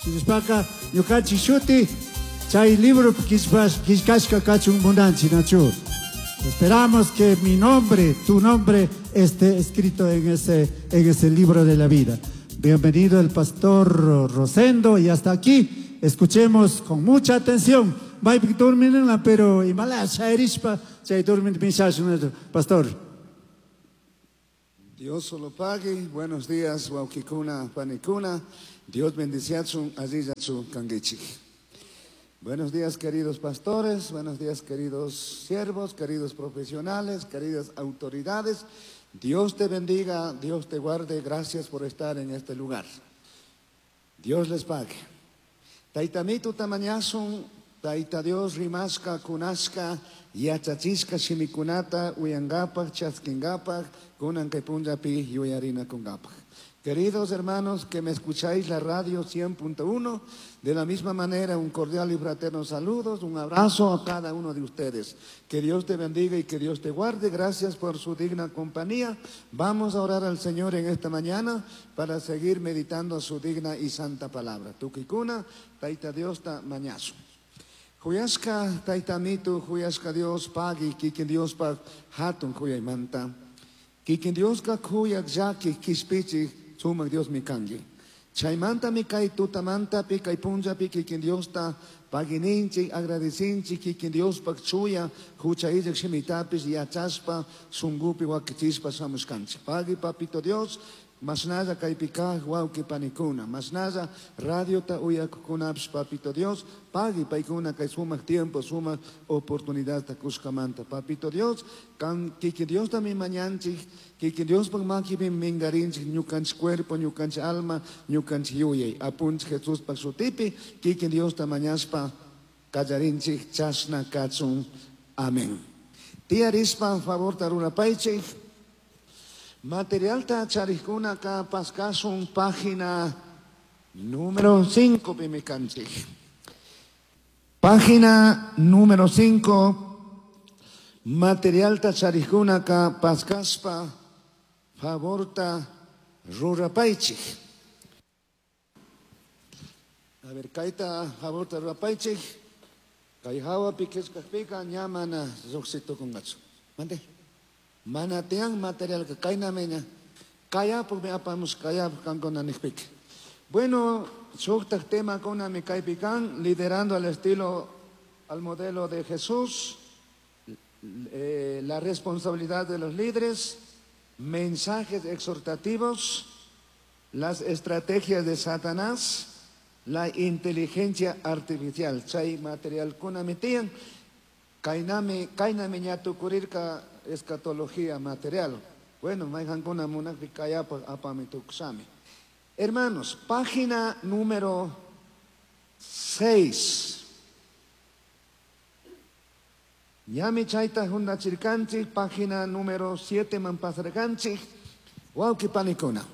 Shinashpaka ñukanchik shuti chay libropi killkashka kachun munanchik, nachu? Esperamos que mi nombre, tu nombre, esté escrito en ese libro de la vida. Bienvenido el pastor Rosendo y hasta aquí escuchemos con mucha atención. Maypi durminla, pero imala shayrishpa chay durmin pensashun, pastor. Dios solo pague. Buenos días, wawkikuna, panikuna. Dios bendiciachun, allillachu kanguichik. Buenos días, queridos pastores. Buenos días, queridos siervos, queridos profesionales, queridas autoridades. Dios te bendiga, Dios te guarde. Gracias por estar en este lugar. Dios les pague. Tayta Amituta mañashun, Tayta Dios rimashka, kunashka, yachachishka shimikunata, uyangapak, chaskingapak, kunan kay punllapi yuyarinakungapak. Queridos hermanos que me escucháis la radio 100.1, de la misma manera un cordial y fraterno saludos, un abrazo a cada uno de ustedes. Que Dios te bendiga y que Dios te guarde. Gracias por su digna compañía. Vamos a orar al Señor en esta mañana para seguir meditando su digna y santa palabra. Tukuykuna, Tayta Diosta mañashun. Kuyashka Tayta Amitu, kuyashka Dios pagui, kikin Diospaj hatun kuyaymanta. Kikin Dioska kuyak llakik kishpichik sumak Diosmi kanki. Chaymantami kay tutamantapi kay punllapi kikin Diosta pagininchik, agradecinchik kikin Diospaj chuya hucha illak shimitapish yachashpa shunkupi wakichishpa shamushkanchik. Pagui papito Dios, mashnalla kaypi kaq wawqi panikuna, mashnalla radiota uyakukunapish papito Dios, pagui paykuna kay sumak tiempo, sumak oportunidadta kushkamanta. Papito Dios, kan kikin Diostami mañanchik, kikin Diospaj makipi mingarinchik ñukanchik cuerpo, ñukanchik alma, ñukanchik yuyay. Apunchik Jesuspaj shutipi, kikin Diosta mañashpa kallarinchik chashna kachun. Amén. Tiyarispa favorta rurapaychik. Materialta charikkunaka paskashun página número 5 pimi kanchik. Página número 5. Materialta charikkunaka paskashpa favorta rurapaychik. A ver, kayta favorta rurapaychik. Kay hawapi qillqaqpiqa ña mana lluqshitukunqachu. Mande. Mana tiyan material ka kaynami ña. Kayapukmi apamush kayapuk kankuna niqpika. Bueno, shuktaq temakunami kaypi kan, liderando al estilo, al modelo de Jesús, la responsabilidad de los líderes, mensajes exhortativos, las estrategias de Satanás, la inteligencia artificial. Chay materialkunami tiyan, kaynami, kaynami ña tukurirka escatología material. Bueno, mayqankuna munaqpi kayapaq apami tukushami. Hermanos, página número 6. Ñami chayta huntachirkanchik, página número 7 man pasarkanchik, wawqi panikuna.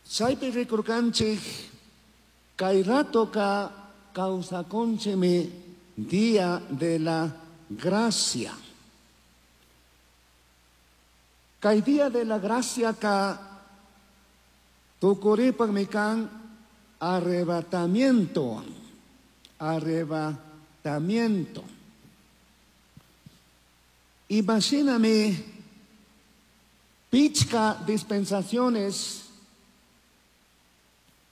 Chaypi rikurkanchik, kay ratoka kawsakunchikmi día de la gracia. Kay día de la gracia ka tukuripaqmi kan arrebatamiento, arrebatamiento. Imagíname pichka dispensaciones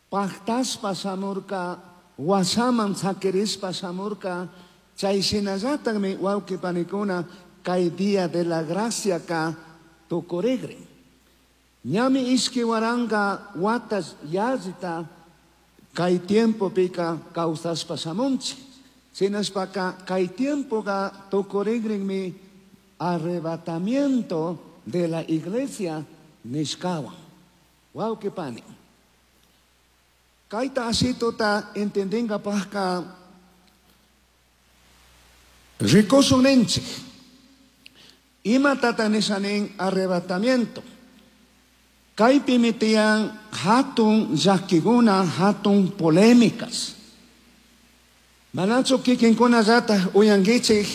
pactaspa shamurka, wasaman sakirispa shamurka, chay shinallatakmi wawqi panikuna kay día de la gracia ka tukurigrin. Ñami ishki waranka watas yallita kay tiempopika kawsashpa shamunchik. Shinashpaka kay tiempoka tukurigrinmi arrebatamiento de la iglesia nishkawan. Wawqi pani. Kayta ashituta entendingapajka rikushun ninchik. Imatata nisha nin arrebatamiento. Kaypimi tiyan hatun llakikuna, hatun polémicas. Manachu kikinkunallata uyankichik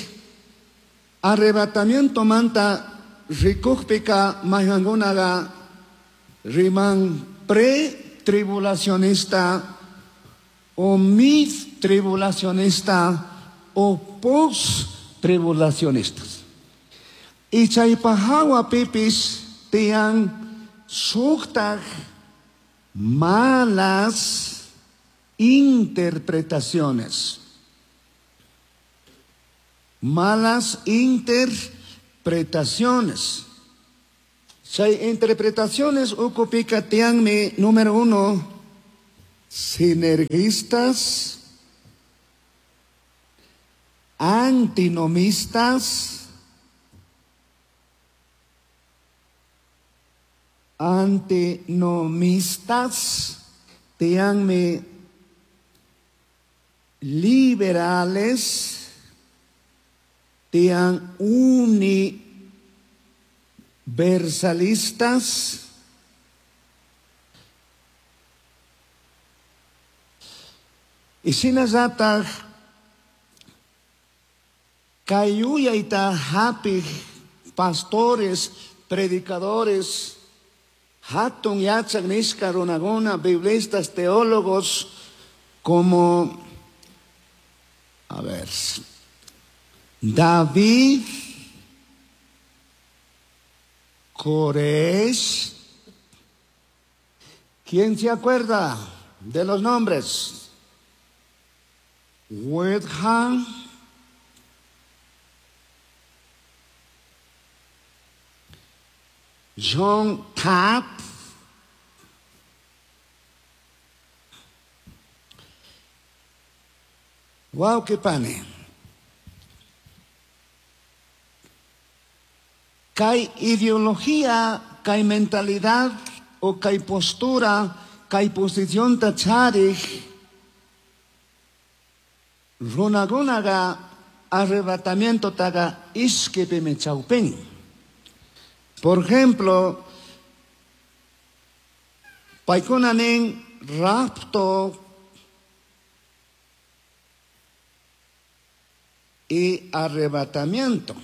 arrebatamiento manta rikukpika mayqankunaqa riman pre-tribulacionista o mid tribulacionista o post tribulacionistas. Y chaypahawa pipis tiyan shuktaj malas interpretaciones. Malas interpretaciones. Chay interpretaciones ukupika tiyanmi número 1, sinergistas, antinomistas, tiyanmi liberales, tiyan universalistas, y shinallataj kay yuyayta hapij pastores, predicadores, hatun yachak nishka runakuna, biblistas, teólogos, como, a ver, David Koresh. ¿Quién se acuerda de los nombres? Wedham, John Tapp, Wauqui pani. Kay ideología, kay mentalidad o kay postura, kay posición ta charij, runakunaqa arrebatamiento taga ishkipimi chawpin. Por ejemplo, paykuna nin rapto y arrebatamiento.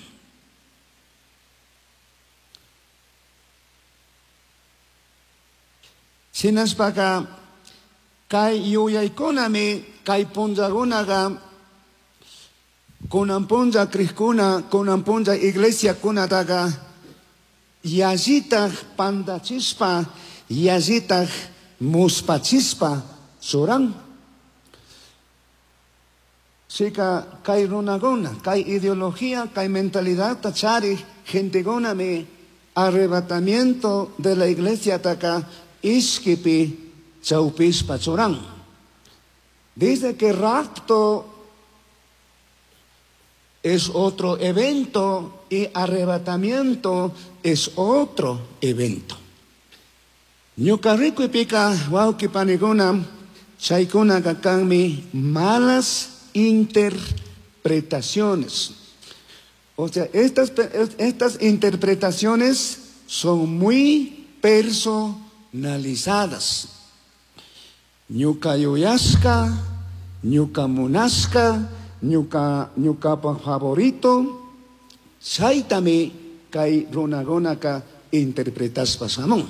Shinashpaka kay yuyaykunami kay punllakunaqa kunan punlla crijkuna, kunan punlla iglesiakunataqa yallitaj pandachispa, yallitaj muspachispa churan. Shika kay runakuna, kay ideología, kay mentalidad charij gentekunami arrebatamiento de la iglesia taka ishkipi chawpishpa churan. Dice que rapto es otro evento y arrebatamiento es otro evento. Ñuka rikuypika wawqi panikuna, chaykunaka kanmi malas interpretaciones. O sea, estas interpretaciones son muy personalizadas. Ñuka yuyashka, ñuka munashka, ñukapa favorito, chaytami kay runakunaka interpretaspa shamun.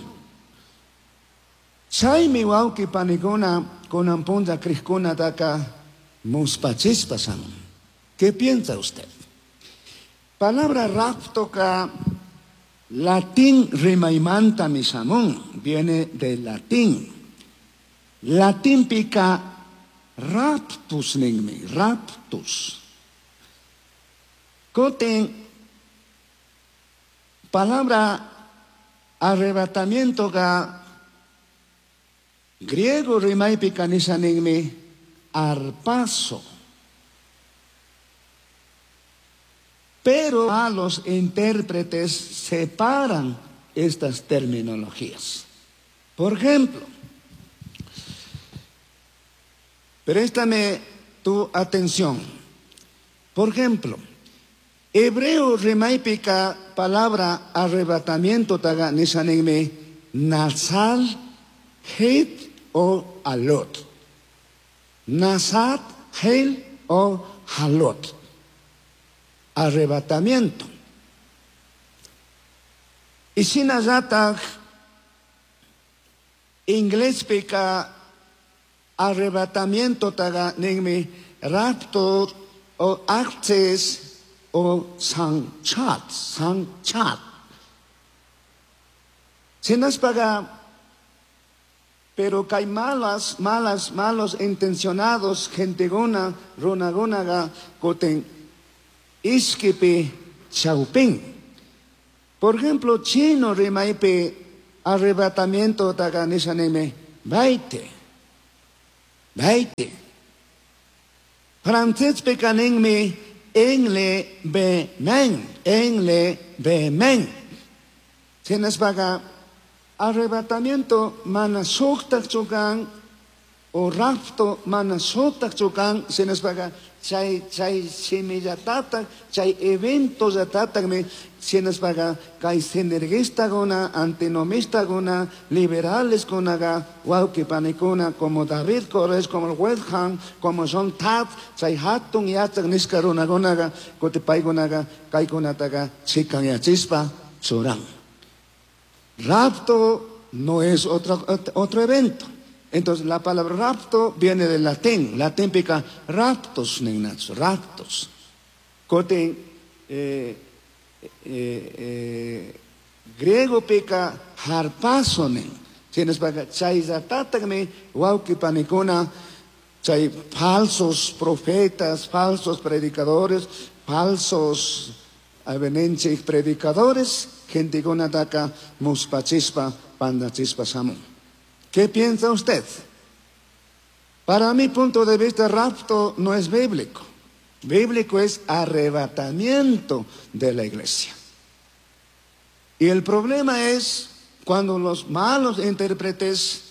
Chaymi wawqi panikuna kunan punlla crijkunataka muspachispa shamun. ¿Qué piensa usted? Palabra rapto ka latín rimaymanta mi shamun, viene del latín. Latín pica raptus ninmi, raptus. Koten, palabra arrebatamiento ka griego rimaypi nisha ninmi arpazo. Pero a los intérpretes separan estas terminologías. Por ejemplo, préstame tu atención. Por ejemplo, hebreo rimaypika palabra arrebatamiento taga nisha ninmi nazal, het o alot. Nazat, hel o halot. Arrebatamiento. Y shinallataj inglés pica Arrebatamiento taga ninmi rapto o access o sanchat, sanchat. Sinaspaga, pero kay malas, malas, malos intencionados, genteguna, runagunaga, kutin iskipi chaupin. Por ejemplo, chino rimaypi arrebatamiento taga nisha ninmi, baite, baite. Francespika ninmi enlevement, enlevement. Sinaspaga arrebatamiento mana shuktak chukan o rapto mana shuktak chukan, sinaspaga chay, chay shimillatatak, chay evento llatatakmi, sinaspaga kay sinergistakuna, antinomistakuna, liberales kunaga, wawqi panikuna, como David Koresh, como el West Ham, como John Taft, chay hatun yachak nishka runakunaga, kuti paykunaga, kaykunataga chikanyachispa churan. Rapto no es otro evento. Entonces la palabra rapto viene del latín. Latín pica raptos, nignacho, raptos. Kotin, griego pica harpazonen. Tienes para chayzatatagmi, wauki panikuna, chay falsos profetas, falsos predicadores, falsos avenenche predicadores, gente taka muspachispa, pandachispa samun. ¿Qué piensa usted? Para mi punto de vista, rapto no es bíblico. Bíblico es arrebatamiento de la iglesia. Y el problema es cuando los malos intérpretes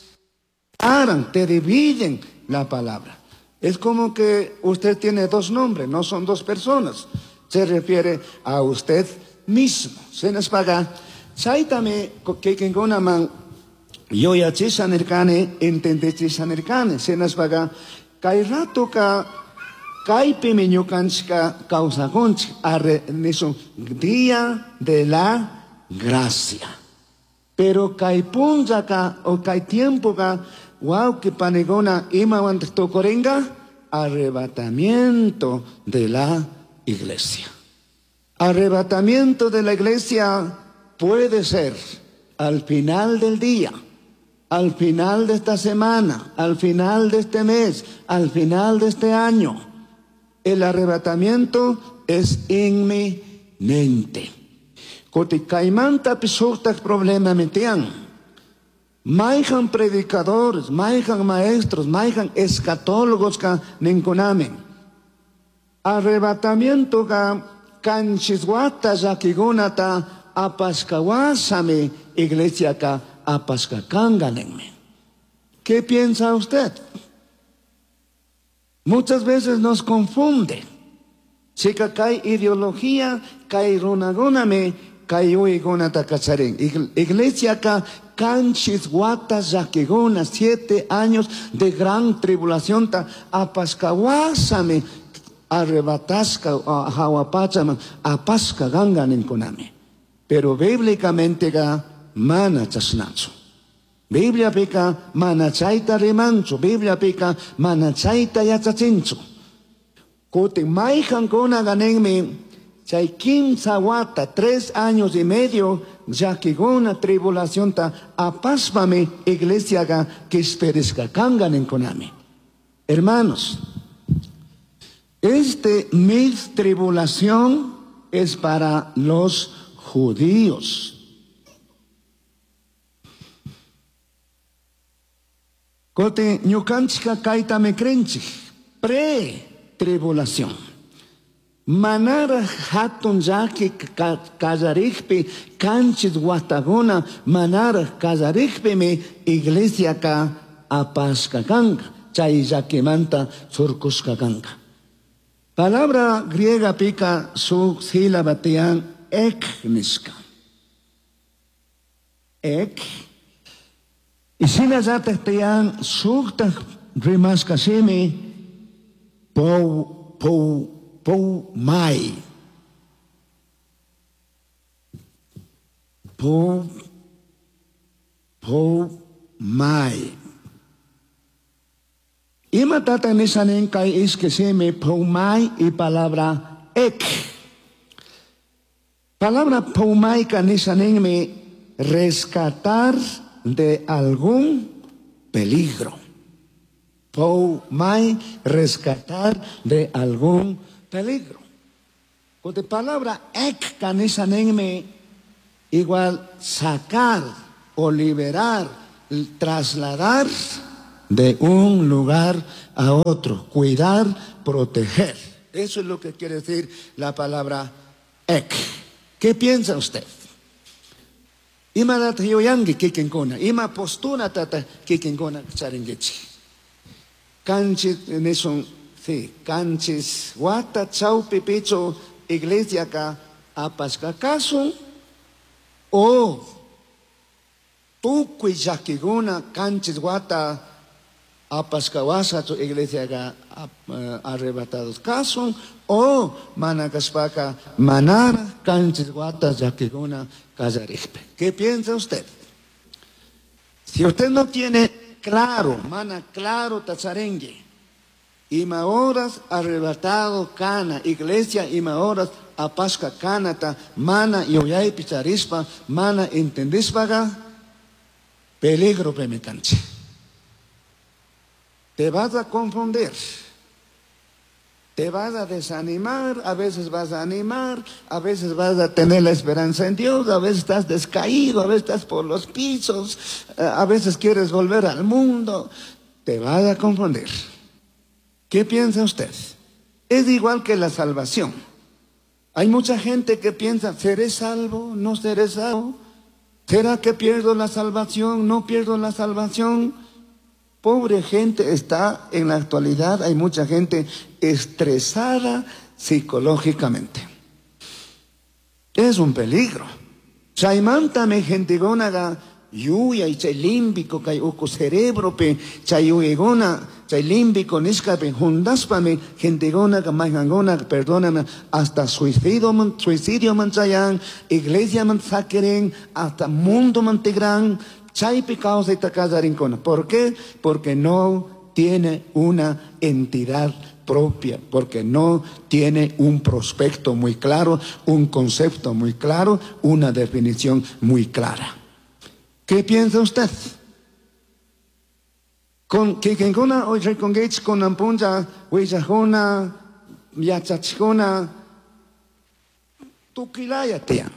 paran, te dividen la palabra. Es como que usted tiene dos nombres, no son dos personas. Se refiere a usted mismo. Se nos paga. Chaytami kikinkunaman yuyachisha nirkani, entendechisha nirkani. Se nos paga. Kay ratoka kaypimi ñukanchika kawsakunchik, arre, nisun, día de la gracia. Pero kay punllaka o kay tiempoka, wawqi panikuna imawantaq tukurinka, arrebatamiento de la iglesia. Arrebatamiento de la iglesia puede ser al final del día, al final de esta semana, al final de este mes, al final de este año. El arrebatamiento es inminente. Kuti kaymanta shuktak problema mitian. Mayhan predicadores, mayhan maestros, mayhan escatólogos ka ninkunamin. Arrebatamiento ka kanchiswata llakikunata apashkawasami iglesia ka apashkakanga ninmi. ¿Qué piensa usted? Muchas veces nos confunde. Chica kay ideología, kay runagunami, kay uygunata kacharin. Iglesia ka kanchis guatas llaquiguna, 7 años de gran tribulación ta apashkawasami arrebatasca jawapachaman apashka ganga ninkunami. Pero bíblicamente ga mana chasnachu. Biblia pica mana chayta rimanchu, Biblia pica mana chayta yachachinchu. Kutin mayhankuna ganinmi chay kimsa wata, 3 años y medio, llakiguna tribulación ta apashpami iglesia ga quisperisca kanga ninkunami. Hermanos, este mil tribulación es para los judíos. Kote ñukanchika kayta me krenchik, pre-tribulación. Manara hatun llaki kallarikpi, kanchis wataguna, manara kallarikpimi iglesia ka apashka kanka, chay llakimanta surkushka kanka. Palabra griega pica su sílaba tian ek nishka. Ek. Y shinallatak tiyan shuktak rimashka shimi pou, pou, pou mai. Pou, pou mai. Imatata nishanin kay ishki shimi pumay y palabra ek. Palabra pumayka nishaninmi rescatar de algún peligro. Pumay, rescatar de algún peligro. Con la palabra ek kanishaninmi igual sacar o liberar, trasladar de un lugar a otro, cuidar, proteger. Eso es lo que quiere decir la palabra ek. ¿Qué piensa usted? Ima data yuyanki kikinkuna, ima postura tata kikinkuna charinkichik. Kanchis nishun, sí, kanchis wata chawpi pichu iglesiaka apashka kasun o tukuy llakikuna kanchis wata apashka washachu iglesiaka arrebatados kasun o mana kashpaka manara kanchis wata llakikuna kallarikpi. ¿Qué piensa usted? Si usted no tiene claro, mana claro tacharengue, ima horas arrebatado kana, iglesia ima horas apashka kanata, mana yuyaypi charispa, mana entendispaga, peligro pemikanchi. Te vas a confundir, te vas a desanimar, a veces vas a animar, a veces vas a tener la esperanza en Dios, a veces estás descaído, a veces estás por los pisos, a veces quieres volver al mundo, te vas a confundir. ¿Qué piensa usted? Es igual que la salvación. Hay mucha gente que piensa, ¿seré salvo? ¿No seré salvo? ¿Será que pierdo la salvación? ¿No pierdo la salvación? Pobre gente está en la actualidad, hay mucha gente estresada psicológicamente. Es un peligro. Chaymantami gentekunaqa yuyay chay límbico kay uku cerebropi chay yuyaykuna chay límbico nishkapi juntaspami gentekunaqa mayqankunaqa, perdóname, hasta suicidioman, suicidioman chayan, iglesiaman sakirin, hasta mundoman tigran, chaypi kawsayta kallarinkuna. ¿Por qué? Porque no tiene una entidad propia, porque no tiene un prospecto muy claro, un concepto muy claro, una definición muy clara. ¿Qué piensa usted? Con kikinkuna rikunkichik kunan punlla willajuna, yachachikuna, tukilaya tiyan.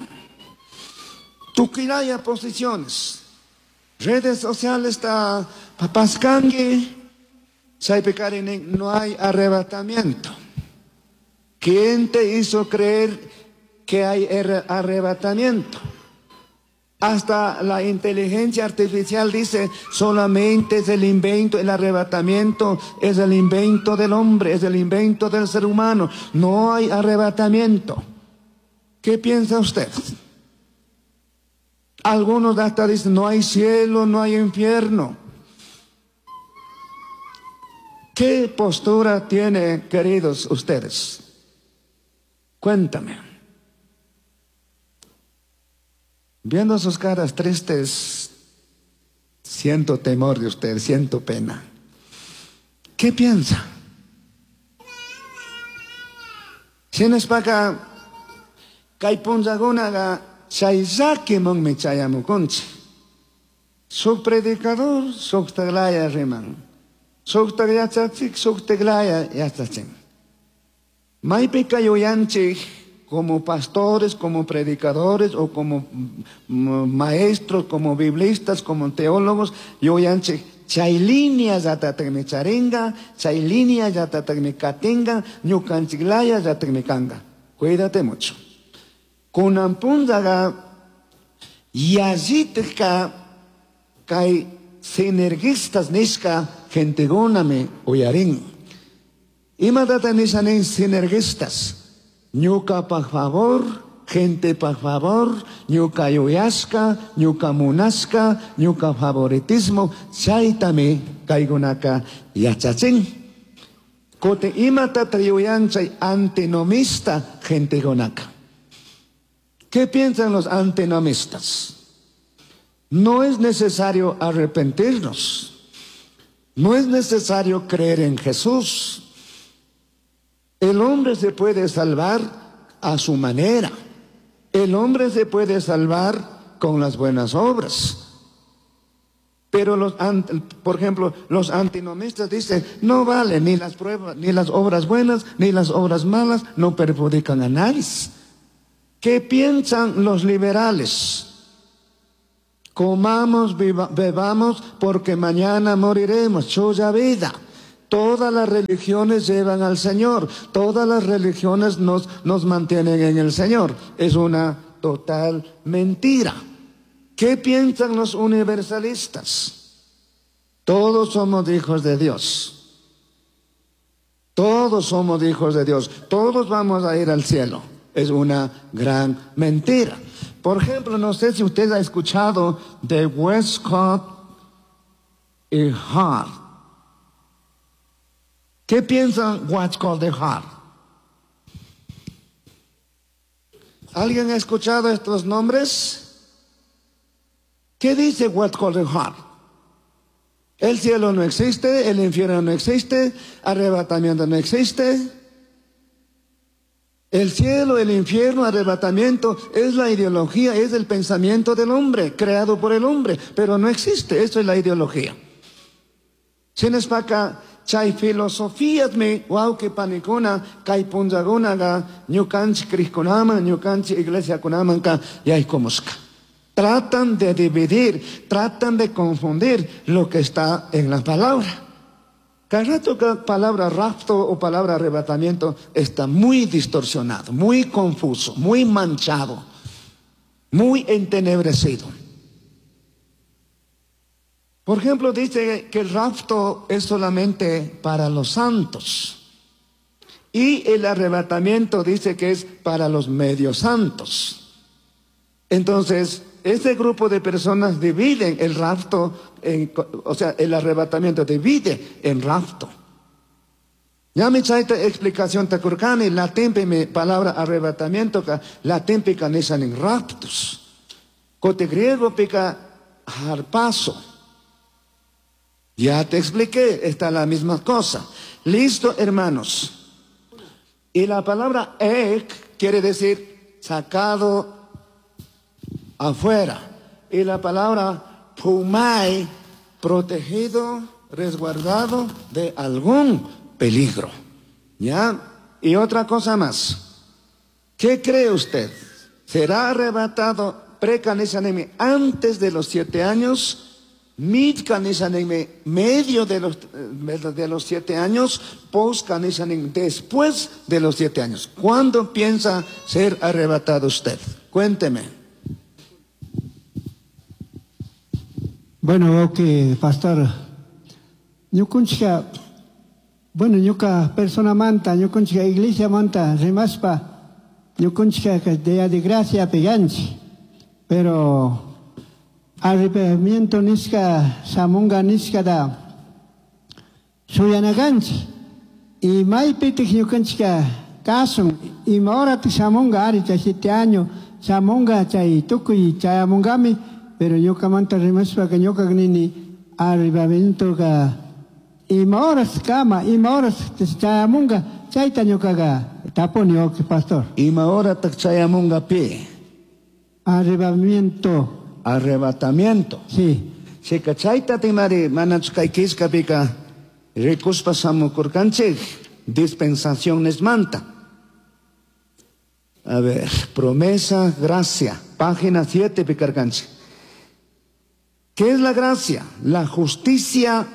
Tukilaya posiciones. Redes sociales está papaskanki, chaypi karinin, no hay arrebatamiento. ¿Quién te hizo creer que hay arrebatamiento? Hasta la inteligencia artificial dice, solamente es el invento, el arrebatamiento es el invento del hombre, es el invento del ser humano. No hay arrebatamiento. ¿Qué piensa usted? Algunos hasta dicen, no hay cielo, no hay infierno. ¿Qué postura tiene, queridos ustedes? Cuéntame. Viendo sus caras tristes, siento temor de usted, siento pena. ¿Qué piensa? Shinashpaka kay punllakunaqa chay llakimanmi chayamukunchik. Shuk predicador shuktaklaya riman. Shuktak yachachik shuktaklaya yachachin. Maypika yuyanchik como pastores, como predicadores o como maestros, como biblistas, como teólogos, yuyanchik chay línea llatatagmi charinga, chay línea llatatagmi katinga, ñukanchiklaya llatatagmi kanga. Cuídate mucho. Kunan punllaqa yallitka kay sinergistas nishka gentekunami uyarin. Imatata nisha nin sinergistas? Ñuka pa favor, gente pa favor, ñuka yuyashka, ñuka munashka, ñuka favoritismo, chaytami kaykunaka yachachin. Kutin imatata yuyan chay antinomista gentekunaka. ¿Qué piensan los antinomistas? No es necesario arrepentirnos. No es necesario creer en Jesús. El hombre se puede salvar a su manera. El hombre se puede salvar con las buenas obras. Pero por ejemplo, los antinomistas dicen, no vale ni las pruebas, ni las obras buenas, ni las obras malas, no perjudican a nadie. ¿Qué piensan los liberales? Comamos, bebamos, porque mañana moriremos. Chuya vida. Todas las religiones llevan al Señor. Todas las religiones nos mantienen en el Señor. Es una total mentira. ¿Qué piensan los universalistas? Todos somos hijos de Dios. Todos somos hijos de Dios. Todos vamos a ir al cielo. Es una gran mentira. Por ejemplo, no sé si usted ha escuchado de Westcott y Hart. ¿Qué piensan Westcott y Hart? ¿Alguien ha escuchado estos nombres? ¿Qué dice Westcott y Hart? El cielo no existe, el infierno no existe, arrebatamiento no existe. El cielo, el infierno, arrebatamiento, es la ideología, es el pensamiento del hombre, creado por el hombre, pero no existe, eso es la ideología. Shinaspaca, chay filosofía mi, wauki panikuna, kay punzagunaga, ñukanchi krishkunaman, ñukanchi iglesia kunamanka, yaykumusca. Tratan de dividir, tratan de confundir lo que está en la palabra. Cada rato que palabra rapto o palabra arrebatamiento está muy distorsionado, muy confuso, muy manchado, muy entenebrecido. Por ejemplo, dice que el rapto es solamente para los santos y el arrebatamiento dice que es para los medios santos. Entonces, este grupo de personas dividen el rapto, o sea, el arrebatamiento divide en rapto. Ya me chaita explicación tacurcani, latín mi palabra arrebatamiento, latín pica nisan en raptus. Cote griego pica harpazo. Ya te expliqué, está la misma cosa. Listo, hermanos. Y la palabra ek quiere decir sacado afuera. Y la palabra pumai, protegido, resguardado de algún peligro. ¿Ya? Y otra cosa más. ¿Qué cree usted? ¿Será arrebatado pre-canisaneme antes de los 7 años? Mid-canisaneme medio de los 7 años, post-canisaneme después de los 7 años. ¿Cuándo piensa ser arrebatado usted? Cuénteme. Bueno, ok, pastor. Ñukunchika, bueno, ñuka persona manta, ñukunchika iglesia manta, rimaspa, ñukunchika día de gracia peganchi. Pero arrepentimiento niska, samunga niska da, suyanaganchi. Y maypitik ñukunchika kasun, ima horatik samunga ari chay 7 años, samunga chay tukuy chayamungami. Pero ñukamanta rimaspa que ñuka nini arrebatamiento ka ima horas kama, ima horas chayamunga, chayta ñukaga tapuni, ok, pastor. Ima hora tak chayamunga pi? Arrebatamiento. Arrebatamiento. Sí. Chika chayta timari manach kay kiska pika rikuspa samukurkanchik dispensaciones manta. A ver, promesa, gracia, página 7 pikarkanchik. ¿Qué es la gracia? La justicia